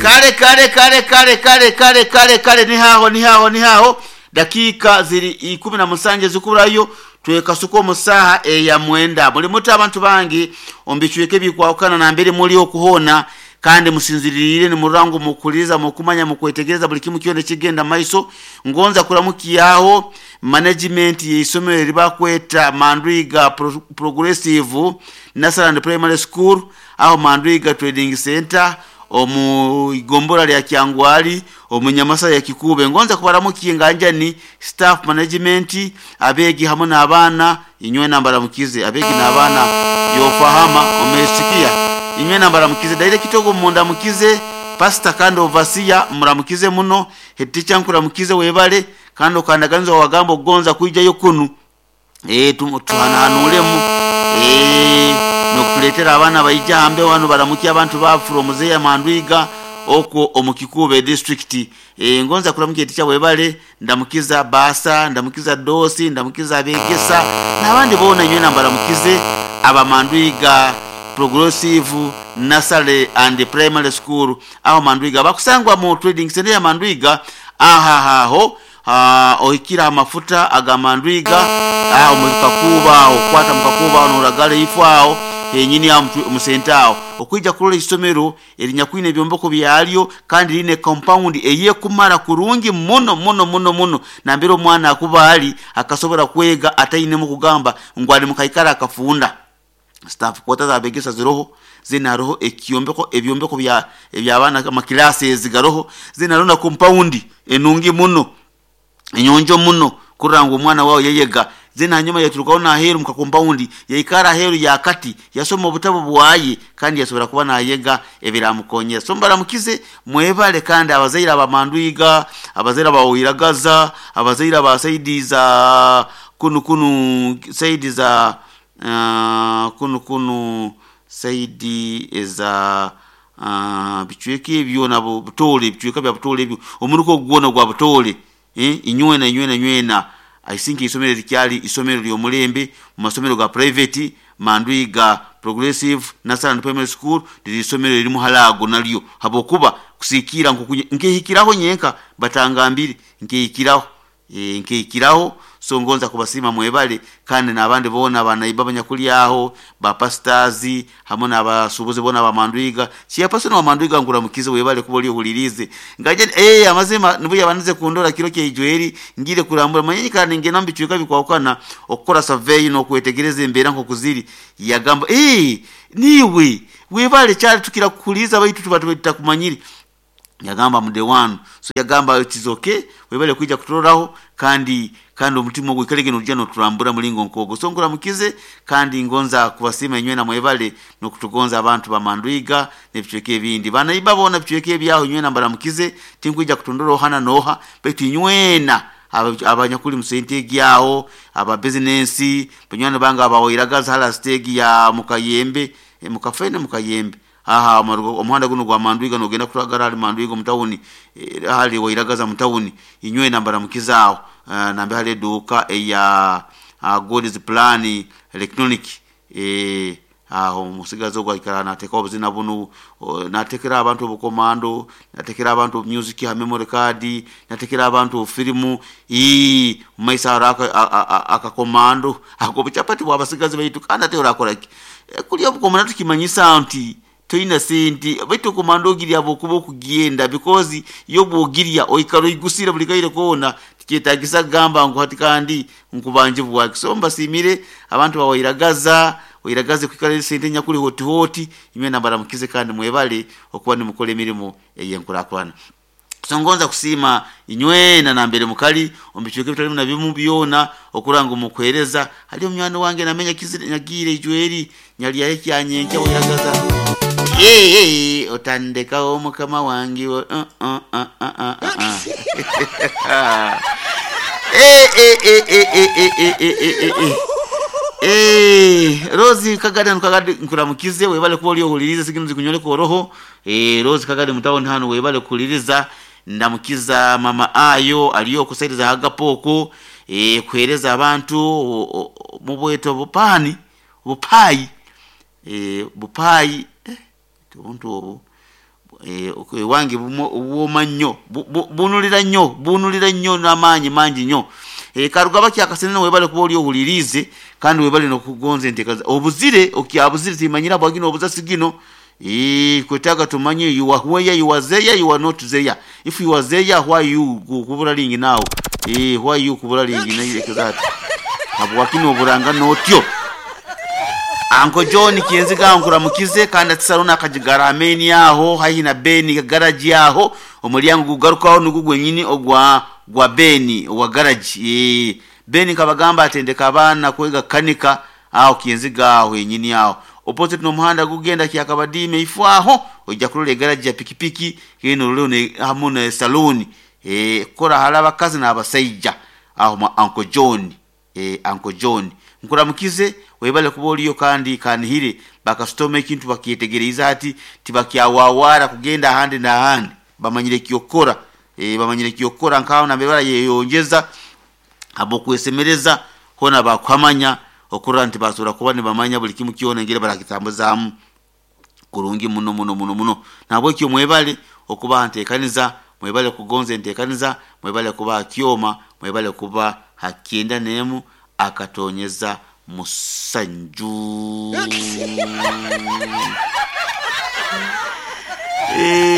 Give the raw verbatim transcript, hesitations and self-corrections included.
Kale kale kale kale kale kale kale kale, nihaho nihaho nihaho, dakiika ziri ikumi na musanju ezikurayo twekasuka omu saaha eya mwenda. Muli muti abantu bangi omu bicweka ebikwahukana nambere muli okuhoona, kandi musinziriire nimurora ngu mukuhuliriza, mukumanya, mukwetegereza buli kimu kyona ekigenda maiso. Ngonza kuramukyaho management y'eisomero eribakweta Mandwiga Pro- Progressive Nursery and Primary School aho Mandwiga Trading Center omu igombora lya Kyangwali omu Nyamasa ya Kikuube. Ngonza kubaramukia nganjani staff management, abeegi hamwe n'abaana, inywe nambaramukize abeegi n'abaana yofahama omesikia inywe nambaramukize daire kitogo mundamukize pastor kandi overseer muramukize muno head teacher nkuramukize webale kandi okandaganiza wagamba okugonza kwijayo kunu eh tuhanahanulemu eh nokutuletera abaana baija hambe wano baramukia abantu ba from Zeya Mandwiga okwo omu Kikuube district. E, ngonza kuramukia teacher webale, ndamukiza basa, ndamukiza dosi, ndamukiza abegesa n'abandi boona inywe nambaramukize aba Mandwiga Progressive Nursery and Primary School aho Mandwiga bakusangwa mu trading center ya Mandwiga ahahaho ohikira amafuta aga Mandwiga aho mukakuba okwata mukakuba noragala ifo aho henyini aho musenta aho okwija kulola isomero erinyakwine ebyombeko byalyo kandi line compound eyekumara kurungi muno muno muno muno nambere omwana akuba ali akasobora kwega atainemu kugamba ngu ali mukaikara akafunda. Staff kwota zabegesa ziroho zinaroho ekyombeko ebyombeko bya ebyabana amakilasi ezigaroho zinaroho na compound enungi muno enyonjo muno kuranga omwana wawe yeyega. Zina hanyuma yaturukaho naheru muka compound yaikara heru yakati yasoma obutabo bwaye kandi yasobora kuba nayega ebiramukonyera. So mbaramukize mwebale kandi abazaire abamandwiga, abazaire abawiragaza, abazaire abasaidiza kunu kunu saidi za uh, kunu kunu saidi eza uh, bicweka ebyo nabo butole bicweka bya butole ebyo omuruko gwona gwa butole eh inywena inywena inywena. I think isomero likyali isomero ly'omulembe mu masomero ga private Mandwiga Progressive Nursery and Primary School liri isomero lirimu halago nalyo habokuba kusikira nkehikiraho nyenka batangambire nkehikiraho e, nkehikiraho. So ngonza kubasima mwebale kandi n'abandi bona banaiba abanyakulyaho ba pastors hamwe n'abasubuzi bona ba Mandwiga chiapasona wa Mandwiga nguramukize webale kuba oli ohulirize ngaje eh amazima nibuya banize kundora kiro kye ngire kurambura manyi kandi ngena mbicweka bikwakana okukora survey no kwetegereza embera nko kuziri yagamba eh niwe webale cyari tukira kukuliza baitu tuba tutakumanyiri yagamba mude wanu. So yagamba it is okay webale kuija kuturoraho kandi kandi omutima ogwikalege nojja noturambura mulingo nkogo. So nguramukize kandi ngonza kubasima inywe na mwebale nokutugonza abantu ba Mandwiga n'ebicweka ebindi bana iba bona bicweka ebyaho inywe na mbaramukize tinkwija kutondora ohana noha baitu inywena abanyakuli musente gyaho aba business banywani banga abawairagaza hala stage ya mukayembe e, mukafene mukayembe aha omuhanda guno gwa Mandwiga nogenda kutwagara ali Mandwiga mutawuni e, hali wairagaza mutawuni inywe nambara mukizao uh, nambe hali duka eya uh, God's Plan electronic eh aho musigazo gwa ikara nateka obuzina bunu natekera abantu obukomando natekera abantu music ha memory card natekera abantu filimu ii maisa araka akakomando ako buchapati bwabasigazi baitu kandi ate orakora ki e, kulya obukomando tukimanyisa nti toina sente baitu komando ogirya bokuba okugenda because yo bwogirya oikaro igusira buli kaire kona tikyetagisa gamba ngu hati kandi nkubanje bwaki. So mbasimire abantu bawairagaza oiragaze kwikara sente nyakuli hoti hoti inywe nambaramukize kandi mwebale okuba nimukora emirimu eyenkurakurana. So ngonza kusima inywe na nambere mukali ombicweke bitalimu na bimu byona okuranga mukwereza hali omwana wange namenya kizire ijweri nyali yae anyenke oiragaza eh eh otandeka omukama wange uh uh uh uh uh eh eh eh eh eh eh eh eh eh eh Rose Kagade nkagade nkuramukize webale kuba oli ohuliriza sikinuzi kunyole koroho eh Rose Kagade mutawoni hano webale kuliriza ndamukiza mama ayo aliyo kusaidiza hagapoko eh kuhereza abantu mubweto bupani bupai eh bupai eh ubuntu obu Eh, ewange bwoma nnyo, bunulira nnyo, bunulira nnyo n'amaanyi mangi nnyo. Eh, karugaba kyakasenene, webale kuba oli ohuliriize kandi webale nokugonza enteekaza obuzire okyabuzire timanyira bwagino obuzasi gino. Eh, kwetaaga tumanye you are where you are there, you are not there. If you are there, why you kubura lingi now? Eh, why you kubura lingi nayirekeza ati habwakino oburanga notyo. Uncle John Kienziga nkuramukize kandi atisarona akajigara ameni aho haihi na Beni garage aho omulyango gugarukaho nugu gwenyini ogwa gwa Beni wa garage. Eh, Beni kabagamba atendeka abaana kwega kanika aho Kienziga aho yenyini aho opposite n'omuhanda gugenda kyakabadime ifu aho ojja kulola garage ya pikipiki kino leo ne hamu ne saluni. Eh, kora halaba kazi n'abasajja aho ma Uncle John. Eh, Uncle John nkuramukize webale kuba oliyo kandi kanihire bakasitoma ekintu bakyetegereza ati tibakyawawara kugenda ahandi n'ahandi bamanyire kyokora. E, bamanyire kyokora nkaho nabebara yeyongeza abo kwesemereza hona bakwamanya okurora nti basobora kuba nibamanya buli kimu kyona engeri barakitambuzaamu kurungi muno muno muno muno. Nabwekyo mwebale okuba nteekaniza, mwebale kugonza enteekaniza, mwebale kuba kyoma, mwebale kuba hakyenda nemu akatonyeza musanju. Eh,